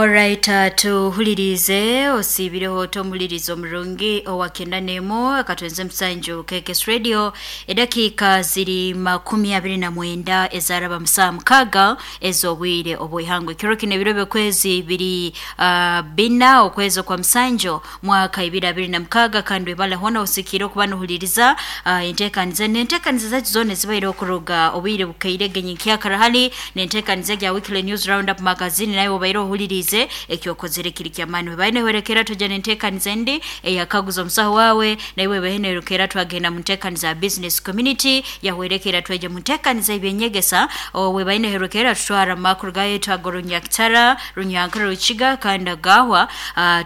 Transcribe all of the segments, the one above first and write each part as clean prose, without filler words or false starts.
Alright, tuhulirize osiibireho otomuhuliriza omurungi owa 91 akatwenze musanju KKS Radio. Edakiika ziri 29 ezaraba musaa 6 ez'obwire obw'ihangwe. Ekiro kino ebiro by'okwezi biri 4 okwezi okwa musanju mwaka 2026, kandi webale hona osikire okuba nohuliriza enteekaniza n'enteekaniza zaitu zoona ezibaire okuruga obwire bukaire genyikyakara hali n'enteekaniza egya Weekly News Roundup Magazine. Nawe obaire ohulirize ekyokozere kiri kyamaani. Webaine hwerekera tujja n'enteekaniza endi eyakaguza omusaho waawe, naiwe webaine twagenda mu nteekaniza ya business community, yahwerekera twija mu nteekaniza y'ebyenyegesa. Webaine hwerekera tutwara mu makuru gaitu ag'orunyakitara, runyankara, rukiga kandi agahwa.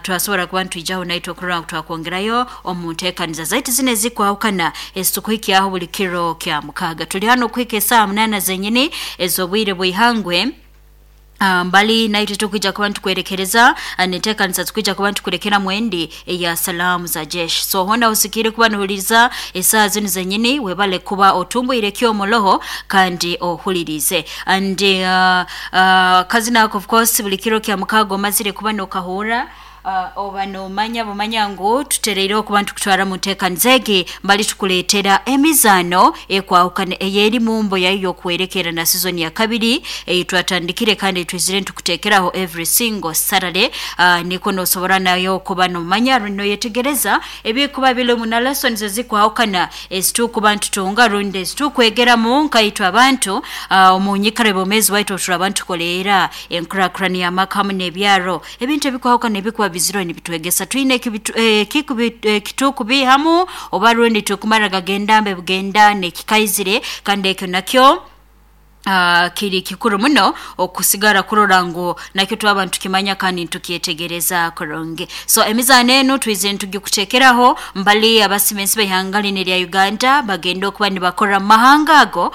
Twasobora kuba nitwijaho naitwe okurora ngu twakwongerayo omu nteekaniza zaitu zinu ezikwahukana ezitukuhikyaho buli kiro kya mukaaga. Tuli hano okuhika esaaha 8 zenyini ez'obwire bw'ihangwe. Mbali naitwe tukwija kuba nitukwerekereza neteekanisa tukwija kuba nitukurekera mwendi eya salaamu za jeshi. So hona usikire kuba nuhuliriza esaaha zinu zenyini, webale kuba otumbwire ekyomoloho kandi ohulirize. And kazina ako of course buli kiro kya mukaaga omazire kuba nokahurra, oba nomanya bumanya ngu tutereireho kuba nitukutwara mu nteekaniza egi mbali tukuleetera emizaano ekwahukana ey'eri mumbo yayo y'okuwerekera na season ya kabiri ei twatandikire kandi twizire nitukuteekeraho every single Saturday. Niko nosobora nayo kuba nomanya rundi noyetegereza ebikuba birimu na lessons ezikwahukana ezitukuba nitutunga rundi ezitukwegeramu nkaitwe abantu omu nyikara y'obwomeezi bwaitu obu turaba nitukoleera enkurakurana y'amaka hamu n'ebyaro. Ebintu ebikwahukana ebikuba biziro nibitwegesa twine ekitukubihamu oba rundi tukumara gagenda mbe bugenda n'ekikaizire, kandi ekyo nakyo kiri kikuru muno okusigara kurora ngu nakyo twaba nitukimanya kandi nitukyetegereza kurungi. So emizaano enu twize nitugikuteekeraho mbali abasimensi b'ihanga linu erya Uganda bagenda okuba nibakora mu mahanga ago.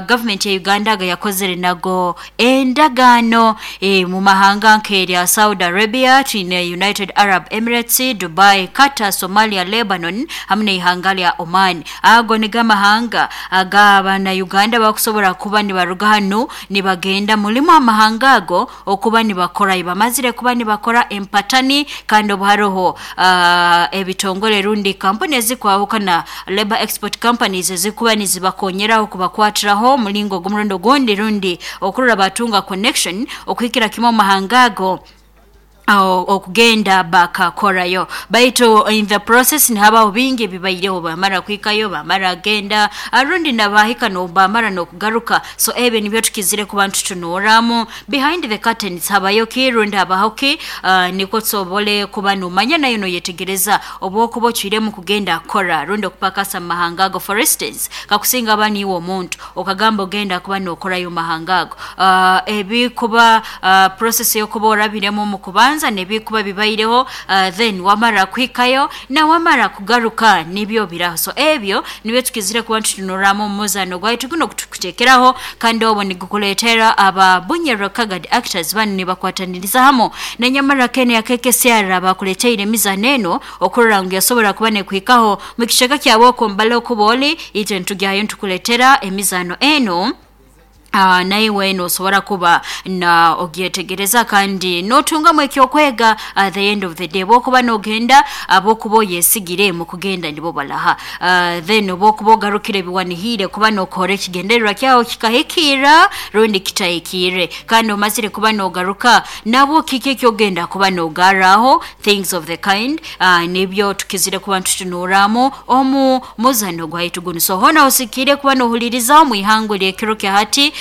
Gavumenti ya Uganda aga yakozere nago endagaano mu mahanga nk'erya Saudi Arabia, twine United Arab Emirates, Dubai, Qatar, Somalia, Lebanon hamu n'ihanga lya Oman. Ago nigo amahanga ag'abana Uganda bakusobora kuba nibaruga hanu nibagenda mulimu amahanga ago okuba nibakora. Bamazire kuba nibakora empatani, kandi obu haroho ebitongole rundi kampuni ezikwahukana, labor export companies, ezikuba nizibakonyeraho kubakwatiraho omulingo ogw'omurundi ogundi rundi okurora batunga connection okuhikira kimu omu mahanga ago okugenda bakakorayo. Baitu in the process nihabaho bingi ebibaireho, bamara kuhikayo, bamara agenda rundi nabahika bamara n'okugaruka. So ebyo nibyo tukizire kuba nitutunuuramu behind the curtains, habayo ki rundi habaho ki, nikwo tusobole kuba nomanya nayo noyetegereza obwokuba ocwiremu kugenda kukora rundi okupakasa mu mahanga ago. For instance, kakusinga aba niiwe omuntu okagamba ogenda kuba nokorayo mu mahanga ago, ebikuba process y'okuba orabiremu omu kubanza nebikuba bibaireho, then wamara kuhikayo na wamara kugaruka nibyo biraho. So ebyo nibyo tukizire kuba nitutunuramu omu muzaano gwaitu guno kutukuteekeraho, kandi obwo nigukuleetera aba Bunyoro Kagadi actors banu nibakwataniriza hamu na Nyamara Ken ya KKCR bakuleteire emizaano eno okurora ngu yasobora kuba nekuhikaho mu kicweka kyawe okumbala okuba oli itwe nitugyayo nitukuleetera emizaano eno. Naiwe nosobora kuba na ogyetegereza kandi notungamu ekyokwega at the end of the day. Bwokuba nogenda, abokuba oyesigire mu kugenda nibo balaha, then obwokuba ogarukire biwanihire kuba nokora ekigendererwa kyawe kikahikirra rundi kitahikirre, kandi omazire kuba nogaruka nabwo kiki ekyogenda kuba nogarraho, things of the kind, nibyo tukizire kuba nitutunuramu omu muzano gwaitu gunu. So hona osikire kuba nohuliriza omu ihangwe ly'ekiro kya hati,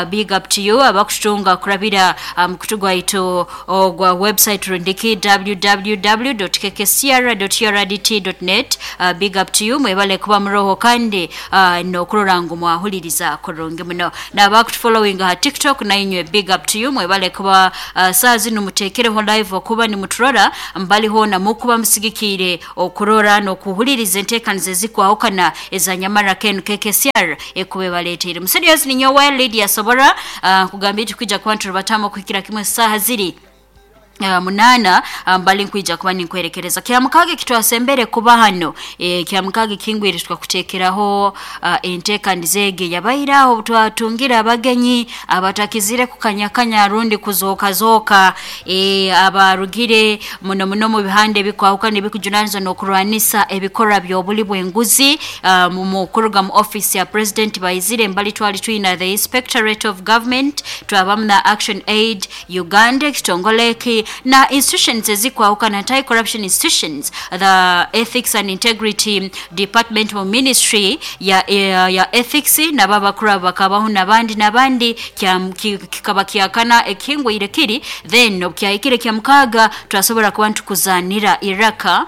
big up to you abakututunga kurabira mukutu gwaitu ogwa website rundiki www.kkcr.urdt.net. Big up to you, mwebale kuba muroho kandi nokurora ngu mwahuliriza kurungi muno. N'abakutufollowing ha TikTok nainywe big up to you, mwebale kuba saa zinu muteekereho live okuba nimuturora mbali hoona mukuba musigikiire okurora n'okuhuliriza enteekaniza ezikwahukana eza Nyamara Ken KKCR ekuba ebaleeteire. Muserious ninyowe Lydia Sobora, nkugambire tukwija kuba nturubatamu okuhikira kimwe saaha ziri 8 mbali nkwija kuba ninkwerekereza kyamukage kitwasembere kuba hano kyamukage kingwire tukakutekeraho enteekaniza ege yabairaho twatungira abagenyi abatakizire kukanyakanya rundi kuzokazoka abarugire muno muno mu bihande bikwahukana ebikujunanizwa n'okurwanisa ebikorwa by'obuli bw'enguzi mu kuruga mu office ya president baizire mbali twali twina the Inspectorate of Government, twabamu na Action Aid Uganda ekitongole na institutions ezikwahukana, anti-corruption institutions, the Ethics and Integrity Department mu ministry ya ethics, nababakuru bakabaho nabandi kikaba kyakana ekingwire kiri. Then okyahikire kya mukaga twasobora kuba ntukuzanira iraka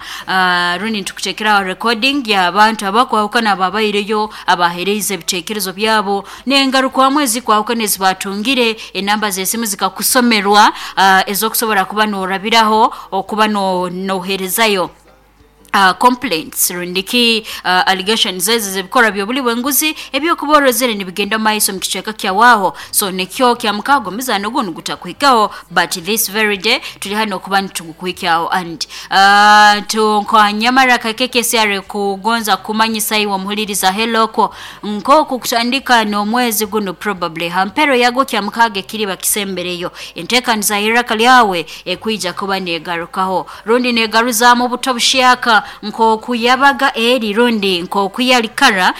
rundi ntukutekera recording ya abantu abakwahukana babaireyo abahereza ebitekerezo byabo nengarukwamwe ezikwahukana ezibatungire enamba z'esimu zikakusomerwa ezokusobora kuba norabiraho okuba noherezayo complaints rundiki allegations ezo zebikora byobuli bwenguzi ebyokuborozere nibigenda maiso mu kicweka kyawaho. So nekyo kya mukago mizano gunu gutakuhikaho, but this very day tuli hano kuba nitugukuhikaho. And tunkanyamara KKCR kugonza kumanyisa iwe muhuliriza heloko nkoku kutandika n'omwezi guno probably hampero yago kya mukage kiri bakisembereyo enteekaniza iraka lyawe ekwija kuba negarukaho rundi negaruzamu obuto bushyaka nkoku yabaga eri rundi nkoku yalikara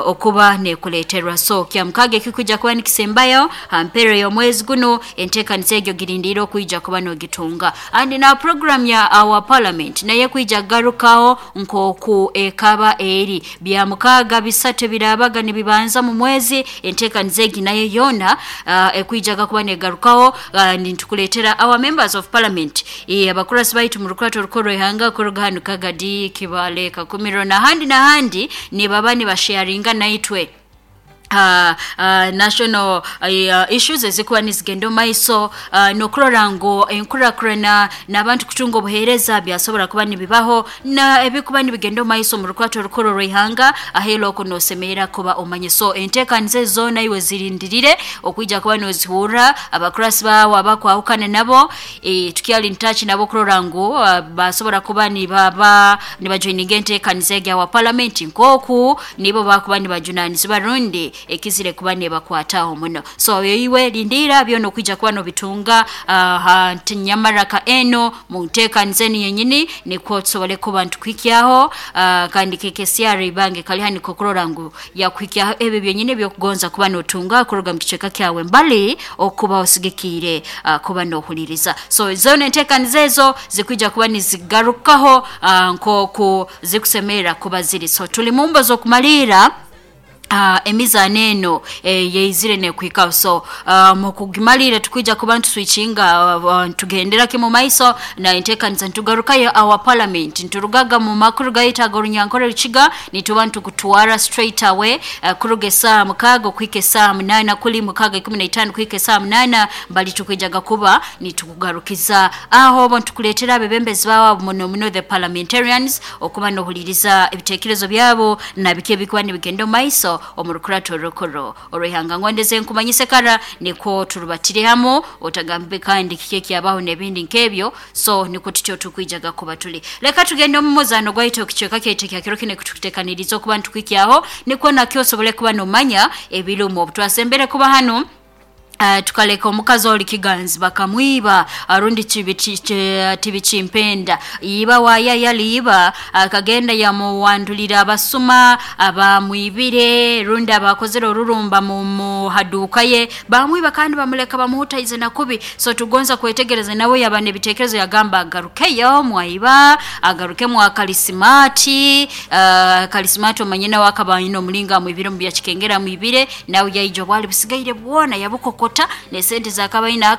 okuba nekuleterwa. So kya mukage kikuja kuba nikisembayo hampero y'omwezi guno enteekaniza egyo girindira okuija kuba nogitunga. And na program ya our parliament naye kuija garukaho nkoku ekaba eri bya mukaga bisatu birabaga nibibanza mu mwezi enteekaniza egi nayo yona ekuijaga kuba negarukaho. Nitukuletera our members of parliament abakurasi baitu mu rukurato rukoro ihanga kuruga hano Kagadi, Kibale, Kakumiro nahandi nahandi ni baba ni basharinga naitwe national issues ezikuba nizigenda maiso nokurora ngo enkurakurana n'abantu kutunga obuheereza byasobora kuba nibibaho na ebikuba nibigenda maiso mu rukwato rukoro rw'ihanga ahelo ko nosemerera kuba omanye. So enteekaniza zona iwe zirindirire okuija kuba nozihurra abakurasi bawe abakwahukana nabo tukyali in touch nabo kurora ngo basobora kuba nibaba nibajoininga enteekaniza egya wa parliament nkoku nibo bakuba nibajunanizibwa rundi ekizire kuba nebakwataho muno. So iwe lindira byono kuija kuba nobitunga nyamaraka eno mu nteekaniza eno yenyini nikwo tusobole kuba ntukwikyaho kandi KKCR ibange kali hani kokurora ngu yakwikyaho ebyo byenyini byokugonza kuba notunga kuruga mu kicweka kyawe mbali okuba osigikire kuba nohuliriza. So zone enteekaniza ezo zikuija kuba nizigarukaho nkoku zikusemerera kuba ziri. So tuli mu mbo z'okumalira emizano eno yeizire nekuhikaho. So mukugimalira tukwija kuba ntuswitchinga tugendera kimu maiso na enteekaniza ntugarukayo our parliament nturugaga mu makuru gayitaga orunyankore rukiga nituba ntukutwara straight away kuruga esaa 6 kuhika esaa 8 kuli 6:15 kuhika esaa 8 mbali tukwijaga kuba nitukugarukiza aho bo ntukuletera abebembezi baabo muno muno the parliamentarians okuba nohuliriza ebitekerezo byabo na bike bikuba nibigenda maiso omurukurato rukoro orwihanga ngondeze nkumanyise kara niko turubatire hamo otagambe kandi kike kyabaho nebindi nkebyo. So niko tutyo tukwijaga kuba tuli leka tugende mu muzano gwaito kichweka kyete kya kiro kine kututekaniriza okuba ntukwikiaho niko nakyo osobole kuba nomanya ebirumo twasembere kuba hano tukaleka omukazi oli kiganzi bakamwiba arundi tibichimpenda iba waya yaliiba akagenda yamuwandulira abasuma abamwibire rundi abakozere orurumba mu haduka ye bamwiba kandi bamuleka bamuhutaize na kubi. So tugonza kwetegereza nawe yabane ebitekerezo yagamba agarukeyo mwaiba agaruke mwa kalisimati kalisimati omanyina wakabayino omulinga mwibire mu byakikengera mwibire nawe yaijo bwali busigaire bwona yabukoko ne sente zakabaina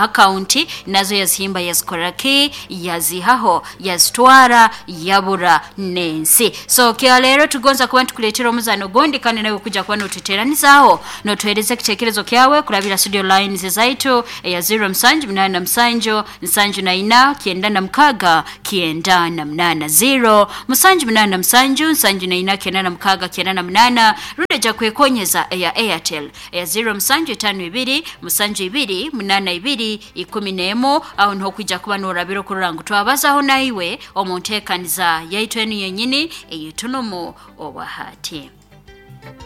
akaunti nazo yazihimba yazikoraki yazihaho yazitwara yabura nensi. So kia lero tugonza kuba tukuletera omuzano gondi kandi nawe kuja kuba notuteranizaho notuhereza kitekerezo kyawe kurabira studio lines zaitu ya 0 7 8 7 7 9 6 9 8 0 7 8 7 9 6 9 8 rundi ja kwekonyeza ya Airtel ya 0 7 52 72 82 11. Aho niho kwija kuba norabira okurora ngu twabazaho naiwe omu nteekaniza yaitu enu yenyini eyitunumu obwahati.